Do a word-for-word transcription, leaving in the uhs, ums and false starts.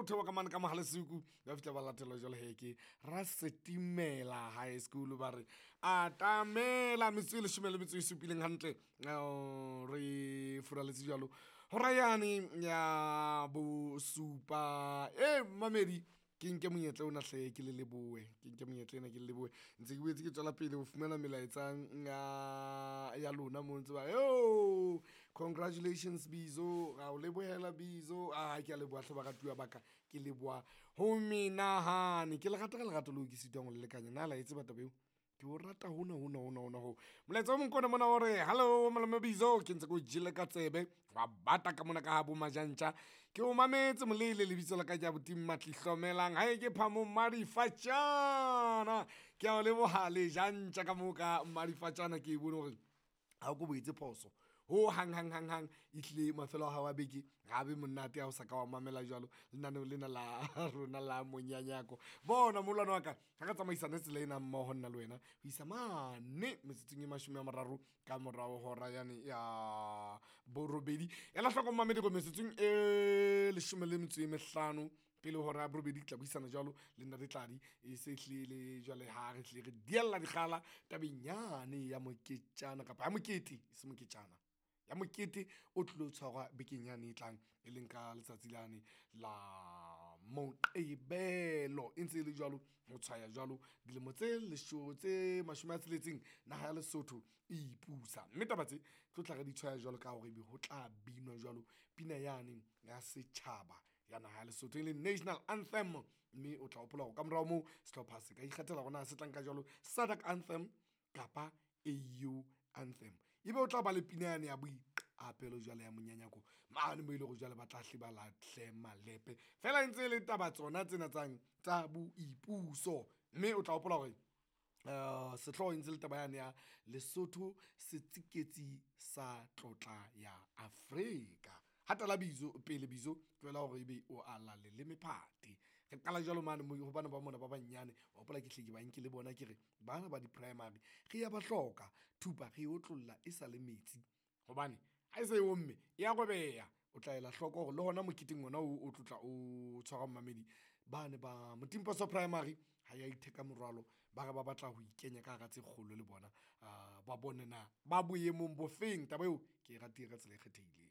theoha ka mane ka Mohalesuku, ba fihla ba latelwa jwale he ke Rasetimela High School. Ba re atamela metsotso e leshome le metso e supileng hantle, uh, re furaletse jwalo hora yane ya bosupa. E mamedi, ke nke monyetla ona hle ke le lebohe, ke nke monyetla ena ke le lebohe. Ntse ke boetse ke tswela pele ho fumana melaetsa ya ya lona mo ntse ba yo, congratulations Bizo, ra o lebohela Bizo. A ke a leboha hle baratuwa ba ka, ke leboha ho menahane, ke le rata ka lerato leo ke sitwang ho le lekanya. Na la e tseba taba eo? Ke o rata hona hona hona hona ho. Molaetsa o mong ke ona mona o re, hello malome Bizo, ke ntse ke o jele ka tsebe, wa bata ka mona ka ha bo Majantja. Ke o mametse molele, lebitso la ka ke abuti Matli Hlomelang, hae ke phamo Madifatjana. Ke a o leboha le jantja ka moo ka Madifatjana, ke e bone hore ha o ko bo etse phoso ho hang hang hang hang. E hlile mafelo a hao a beke ga be monate ha o sa ka wa mamela jwalo lenaneo lena la rona la monyanyako. Bona molwana wa ka, ga re tsamaisane tsela ena mmoho nna le wena ho isa mane metsotsong e mashome a mararo ka morao hora yane ya borobedi. Ela hloko mamedi gore metsotsong e leshome le metso e mehlano pele hora ya borobedi ke tla buisana jwalo le nna Tladi, e se hlile jwale ha re hlile re diella dikgala tabeng yane ya moketjana kapa ya mokete, e se moketjana, ya mokete o tlilo tshwarwa bekeng yane e tlang, e leng ka letsatsi lane la Moqebelo. E ntse e le jwalo ho tshwaya jwalo dilemo tse lesho tse mashome a tsheletseng naha ya Lesotho e ipusa, mme taba tse tlo tla re di tshwaya jwalo ka hore ebe ho tla binwa jwalo pina yane ya setjhaba ya naha ya Lesotho, e leng national anthem. Mme o tla hopola hore ka morao moo sehlopha se ka ikgethela hore na se tla nka jwalo SADC anthem kapa A U anthem, ebe o tla ba le pina yane ya boiqapelo jwale ya monyanyako mane mo e le hore jwale ba tla hle ba lahle malepe fela, e ntse e le taba tsona tsena tsang tsa boipuso. Mme o tla hopola hore uh, sehlooho e ntse le taba yane ya Lesotho setsiketsi sa tlotla ya Afrika. Hatela Bizo pele Bizo, tlohela hore ebe o ala leleme phate. Re qala jwalo mane mo ho bana ba mona ba banyane, wa hopola ke hle ke ba nke le bona, ke re bana ba di-primary re ya ba hloka thupa, re e otlolla e sa le metsi, hobane ha e se e omme e ya robeha. O tla ela hloko hore le hona moketeng ona o o tlotla o tshwara mamedi, bane ba Motimposo Primary ha ya itheka morwalo, ba re ba batla ho ikenya ka hara tse kgolo le bona, uh, ba bone na ba boemong bo feng. Taba eo ke e ratile ka tsela e kgethehileng.